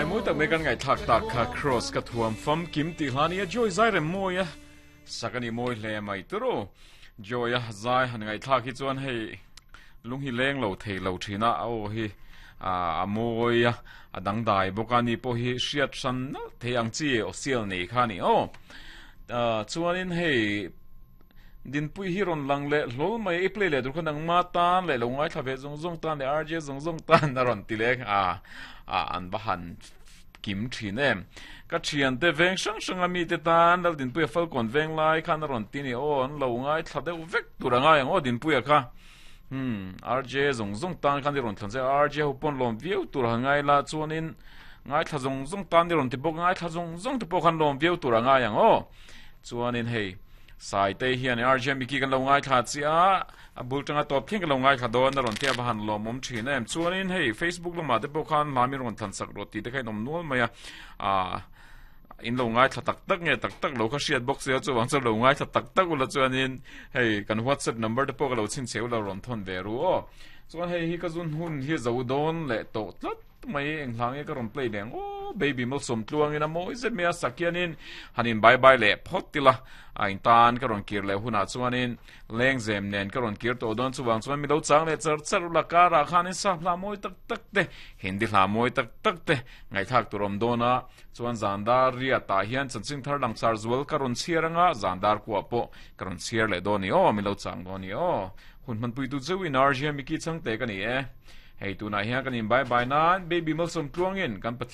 Zai mawi tak mai kan ngaihthlak tak kha Cross ka thuam famkim tih hla nia Joy zai rem mawi a sak a ni mawi hle mai turu. Joy a zai han ngaihthlak hi chuan hei lung hi leng lo thei lo thin a a aw hi a mawi a a dangdai bawk a ni pawh hi hriat hran nalh thei ang chi aw sial nei kha a ni aw. Chuanin hei Dinpui hi rawn lang leh hlawl mai a, i play leh tur kha nangma tan leh lo ngaithla ve zawng zawng tan leh RJ zawng zawng tan a rawn ti leh a, a an va han kim thin em. Ka thiante veng hrang hranga mite tan Lal Dinpuia Falkawn veng lai khan a rawn ti ni aw, an lo ngaithla deuh vek tur a ngai ang aw Dinpuia kha. Hmm, RJ zawng zawng tan khan i rawn thlan che, RJ ho pawn lawm viau tur han ngai la chuanin ngaithla zawng zawng tan i rawn ti bawk, ngaithla zawng zawng te pawh khan lawm viau tur a ngai ang aw. Chuanin hei Saitei hian RJ Mickey kan lo ngaithla chiah a, a bul tanga tawp thleng kan lo ngaithla dawn a rawn tia va han lawmawm thin em. Chuanin hei Facebook lamah te pawh khan hla min rawn thlan sak rawh tih te kha in awm nual mai a, ah in lo ngaithla tak tak nge tak tak lo kha hriat bawk sia chuvang chuan lo ngaithla tak tak ula chuanin hei kan WhatsApp number te pawh ka lo chhinchhe ula rawn thawn ve ru aw. Chuan hei hi ka zun hun hi zo dawn leh tawh tlat. Mai eng hla nge ka rawn play leh ang aw baby malsawm tluangin a mawi zet mai a sak hianin han in bye bye leh phawt ila a in tan ka rawn kir leh hunah chuanin lengzem nen ka rawn kir tawh dawn chuvang chuan mi lo chang leh char char ula karah khanin sap hla mawi tak tak te hindi hla mawi tak tak te ngaihthlak tur awm dawn a chuan zandar riat ah hian chanchin thar lang char zual ka rawn chhiar anga zandar kuah pawh ka rawn chhiar leh dawn ni aw mi lo chang dawn ni aw hun hmanpuitu cheuhin RJ Mickey changte ka ni e. Hei tunah hian kan in bye bye nan Baby Malsawm tluangin kan Pathian.